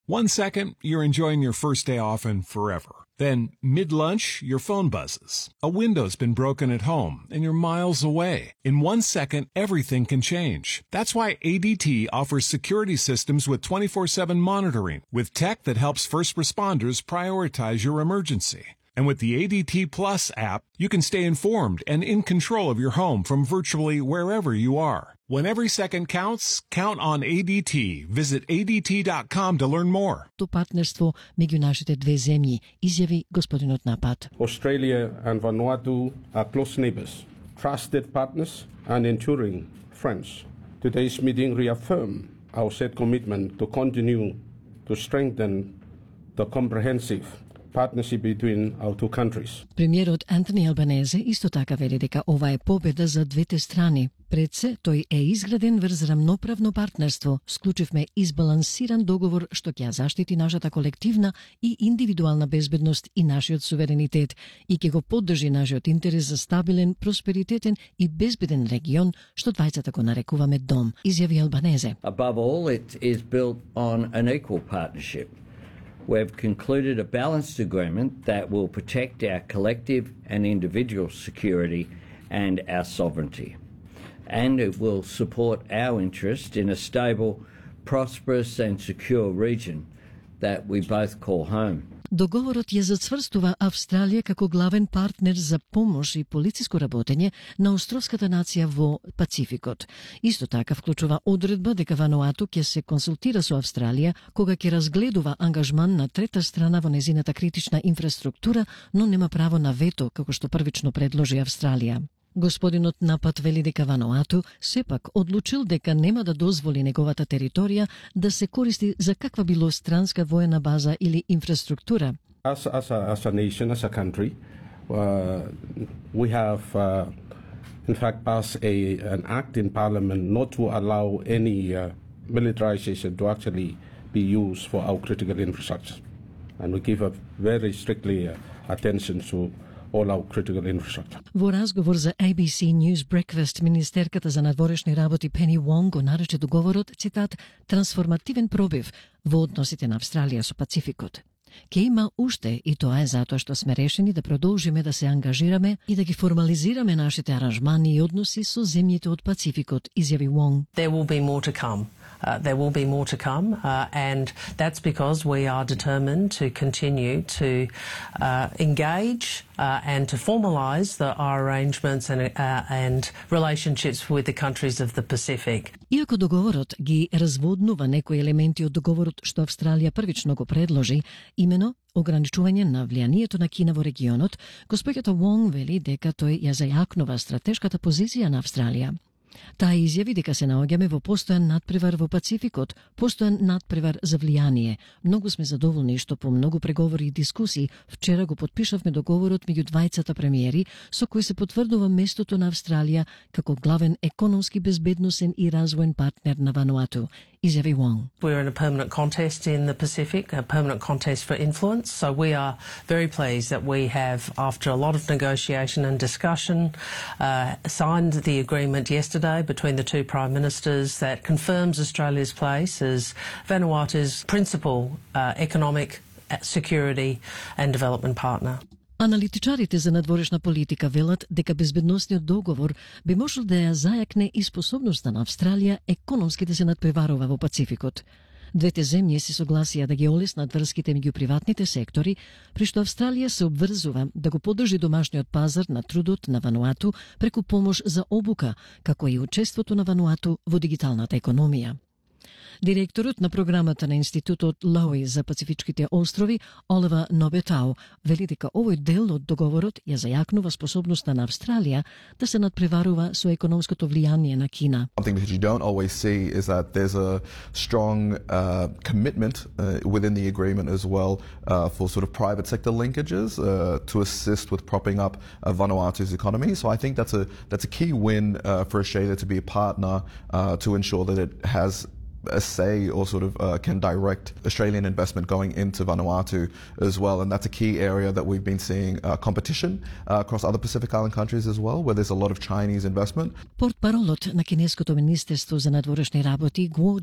1 second, you're enjoying your first day off and forever. Then, mid-lunch, your phone buzzes. A window's been broken at home and you're miles away. In 1 second, everything can change. That's why ADT offers security systems with 24/7 monitoring, with tech that helps first responders prioritize your emergency. And with the ADT Plus app, you can stay informed and in control of your home from virtually wherever you are. When every second counts, count on ADT. Visit ADT.com to learn more. То партнерство меѓу нашите две земји, изјави господинот Напат. Australia and Vanuatu are close neighbors, trusted partners and enduring friends. Today's meeting reaffirmed our set commitment to continue to strengthen the comprehensive partnership between our two countries. Премиерот Антони Албанезе исто така вели дека ова е победа за двете страни. Пред се, тој е изграден врз рамноправно партнерство. Склучивме избалансиран договор што ќе ја заштити нашата колективна и индивидуална безбедност и нашиот суверенитет и ќе го поддржи нашиот интерес за стабилен, просперитетен и безбеден регион што двајцата го нарекуваме дом, изјави Албанезе. Above all, it is built on an equal partnership. We've concluded a balanced agreement that will protect our collective and individual security and our sovereignty. And it will support our interest in a stable, prosperous and secure region that we both call home. Договорот ја зацврстува Австралија како главен партнер за помош и полициско работење на островската нација во Пацификот. Исто така вклучува одредба дека Вануату ќе се консултира со Австралија кога ќе разгледува ангажман на трета страна во незината критична инфраструктура, но нема право на вето како што првично предложи Австралија. Господинот Напат вели дека Вануату сепак одлучил дека нема да дозволи неговата територија да се користи за каква било странска воена база или инфраструктура. As a nation, as a country, we have in fact passed an act in Parliament not to allow any militarization to actually be used for our critical infrastructure. And we give a very strictly attention to all our critical infrastructure. Во разговор за ABC News Breakfast, министерката за надворешни работи Пени Вонг го нарече договорот, цитат, трансформативен пробив во односите на Австралија со Пацификот. Ке има уште и тоа е затоа што сме решени да продолжиме да се ангажираме и да ги формализираме нашите аранжмани и односи со земјите од Пацификот, изјави Вонг. There will be more to come. There will be more to come, and that's because we are determined to continue to engage and to formalise our arrangements and relationships with the countries of the Pacific. Иако договорот ги разводнува некои елементи од договорот што Австралија првично го предложи, имено ограничување на влијанието на Кина во регионот, госпоѓата Вонг вели дека тој ја зајакнува стратешката позиција на Австралија. Таа изјави дека се наоѓаме во постојан надпревар во Пацификот, постојан надпревар за влијание. Многу сме задоволни што по многу преговори и дискусии вчера го потпишавме договорот меѓу двајцата премиери со кој се потврдува местото на Австралија како главен економски, безбедносен и развоен партнер на Вануату, изјави Вонг. We're in a permanent contest in the Pacific, a permanent contest for influence, so we are very pleased that we have, after a lot of negotiation and discussion, signed the agreement yesterday between the two Prime Ministers that confirms Australia's place as Vanuatu's principal economic, security and development partner. Аналитичарите за надворешна политика велат дека безбедносниот договор би можел да ја зајакне и способноста на Австралија економски да се надпреварува во Пацификот. Двете земји се согласија да ги олеснат врските меѓу приватните сектори, при што Австралија се обврзува да го поддржи домашниот пазар на трудот на Вануату преку помош за обука, како и учеството на Вануату во дигиталната економија. Директорот на програмата на Институтот Лоуи за Пацифичките острови, Оливер Нобетау, вели дека овој дел од договорот ја зајакнува способноста на Австралија да се надпреварува со економското влијание на Кина. Something that you don't always see is that there's a strong commitment within the agreement as well for sort of private sector linkages to assist with propping up Vanuatu's economy. So I think that's a key win for Australia to be a partner to ensure that it has a say or sort of can direct Australian investment going into Vanuatu as well. And that's a key area that we've been seeing competition across other Pacific Island countries as well, where there's a lot of Chinese investment. Портпаролот на кинеското министерство за надворешни работи Гуо